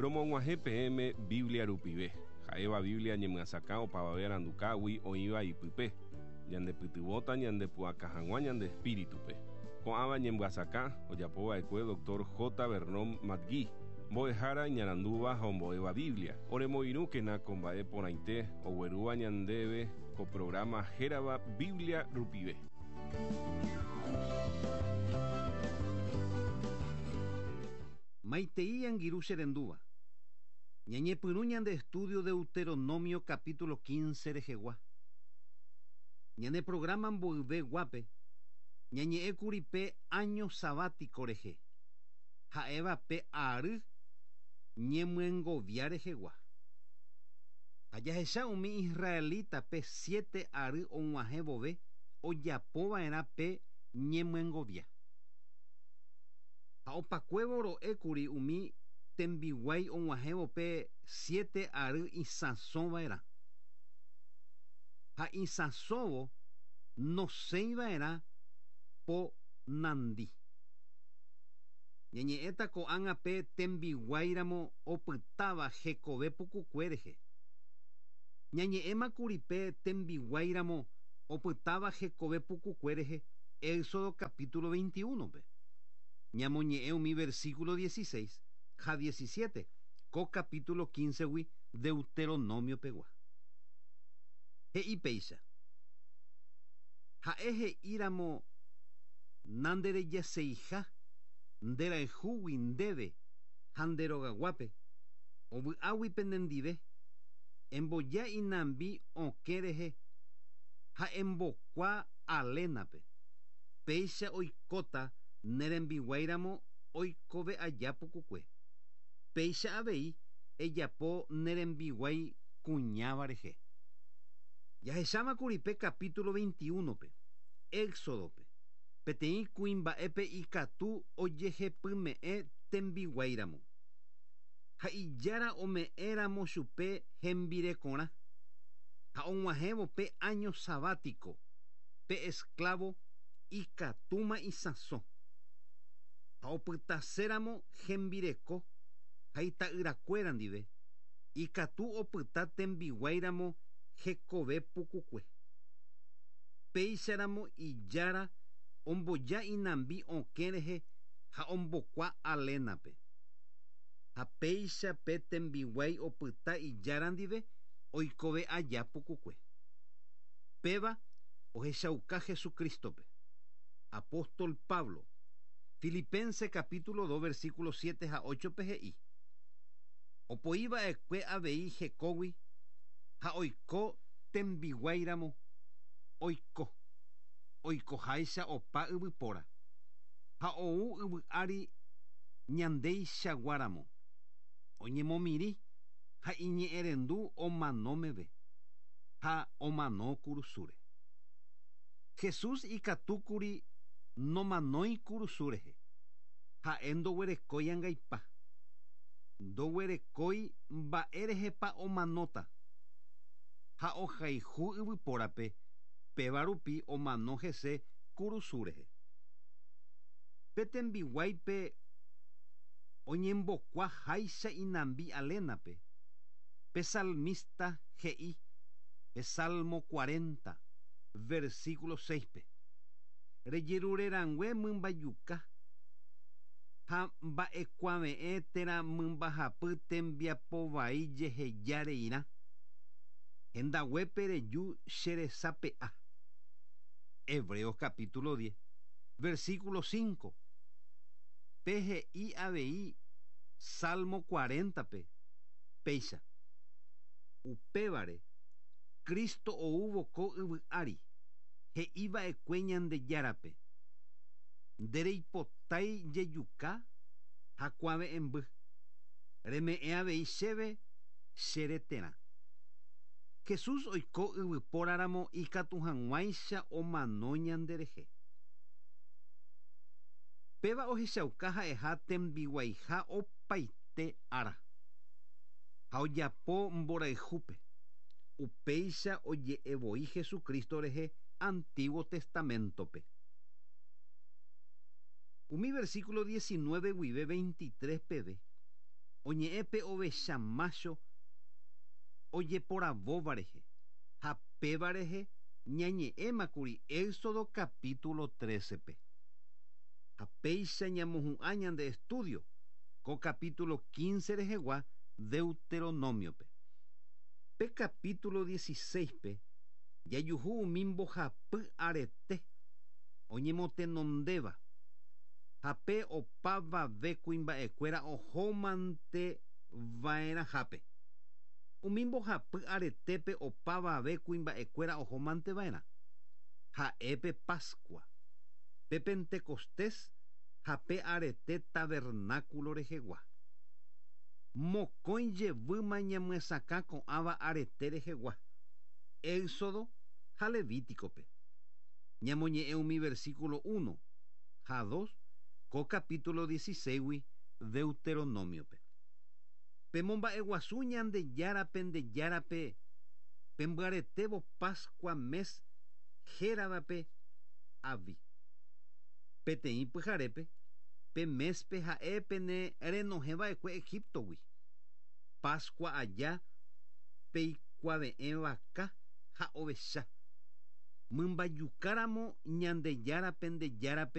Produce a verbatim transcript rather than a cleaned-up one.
Romog̃uahẽ peẽme Biblia rupive. Ha'éva Biblia ñemyasakã opavave arandukágui oĩva ipype. Ñandepytyvõta ñandepu'aka hag̃ua ñande espíritupe. Ko'ãva ñemyasakã ojapova'ekue doctor J. Vernon McGee, mbo'ehára iñarandúva ha ombo'éva Biblia. Oremoirũkena ko mba'e porãite oguerúva ñandéve ko programa hérava Biblia rupive. Maitei angirũ che rendúva. Ñañepyrũ ñande estudio Deuteronomio capítulo quince rehegua. Ñane programa mboyveguápe, ñañe'ẽkuri pe año sabático rehe. Ha'éva pe ary ñemyengovia rehegua. Ha jahecha umi israelita pe siete ary og̃uahẽ vove ojapova'erã pe ñemyengovia. Ha opakuévo ro'ékuri umi tembiguái og̃uahẽvo pe siete ary isãsova'erã. Ha isãsóvo nosẽiva'erã po nandi. Ñañe'ẽta ko'ág̃a pe tembiguáiramo opytáva hekove pukukue rehe. Ñañe'ẽmakuri pe tembiguáiramo opytáva hekove pukukue rehe Éxodo capítulo veintiuno-pe. Ñamoñe'ẽ umi versículo dieciséis ha diecisiete ko capítulo quince-gui Deuteronomio pegua. He'i péicha. Ha'e he'íramo nanderejaseija nderayhúgui ndéve ha nderogaguápe ovy'águi penendive emboja inambi okẽ rehe ha embokua alénape péicha oikóta nerembiguáiramo oikove aja pukukue. Péicha avei ejapo nerembiguái kuñáva rehe. Jahechámakuri pe capítulo veintiuno-pe, Éxodo-pe, peteĩ kuimba'épe ikatu ojehepyme'ẽ tembiguáiramo. Ha ijára ome'ẽramo chupe hembirekorã. Ha og̃uahẽvo pe año sabático, pe esclavo ikatúma isãso. Ha opytaséramo hembireko ha ita'yrakuéra ndive, ikatu opyta tembiguáiramo hekove pukukue. Péicharamo ijára omboja inambi okẽ rehe ha ombokua alénape. Ha péicha pe tembiguái opyta ijára ndive oikove aja pukukue. Péva ohechauka Jesucristo-pe. Apóstol Pablo, Filipense capítulo dos versículo siete ha ocho pe he'i. Opoiva'ekue avei hekógui ha oiko tembiguáiramo oiko. Oikoháicha opa yvypóra. Ha ou yvy ári ñandeichaguáramo. Oñemomirĩ ha iñe'ẽrendu omano meve. Ha omano kurusúre. Jesús ikatúkuri nomanói kurusu rehe. Ha'e ndoguerekói angaipa. Ndoguerekói mba'e rehepa omanóta. Ha ohayhu yvypórape péva rupi omano hese kurusu rehe. Pe tembiguáipe oñembokua háicha inambi alénape. Pe salmista he'i pe Salmo cuarenta, versículo seis-pe. Rejerurerangue mymbajuka ha mba'ekuave'ẽ térã mymbahapy tembiapovai jehejareirã. Hendaguépe reju cheresape'a. Hebreos capítulo diez, versículo cinco. Pe he'i avei Salmo cuarenta-pe péicha. Upévare Cristo oúvo ko yvy ári he'iva'ekue Ñandejárape. Ndereipotái jejuka ha kuave'ẽmby. Reme'ẽ avei chéve chereterã. Jesús oiko yvypóraramo ikatu hag̃uáicha omano ñanderehe. Péva ohechauka ha'eha tembiguaiha opaite ára. Ha ojapo mborayhúpe. Upéicha oje'evoi Jesucristo rehe Antiguo Testamento-pe. Umi versículo diecinueve guive veintitrés peve. Oñe'ẽ pe ovecha mácho ojeporavóva rehe ha péva rehe ñañe'ẽmakuri Éxodo capítulo trece-pe. Ha péicha ñamohu'ã ñande estudio ko capítulo quince rehegua Deuteronomio-pe. Pe capítulo dieciséis-pe jajuhu umi mbohapy arete oñemotenondéva ha pe opavave kuimba'ekuéra ohómante va'erãhápe. Umi mbohapy aretépe opavave kuimba'ekuéra ohómante va'erã. Ha'e pe Pascua, pe Pentecostés ha pe arete tabernáculo rehegua. Mokõi jevýma ñamyesakã ko'ãva arete rehegua. Éxodo ha Levítico-pe. Ñamoñe'ẽ umi versículo uno ha dos ko capítulo dieciséis Deuteronomio-pe. Pemomba'eguasu Ñandejárape ndejárape pembyaretévo Pascua mes héravape Avi. Peteĩ pyharépe pe mespe ha'e pene renohẽva'ekue Egiptogui. Pascua aja peikuave'ẽ vaka ha ovecha. Mymbajukáramo Ñandejárape ndejárape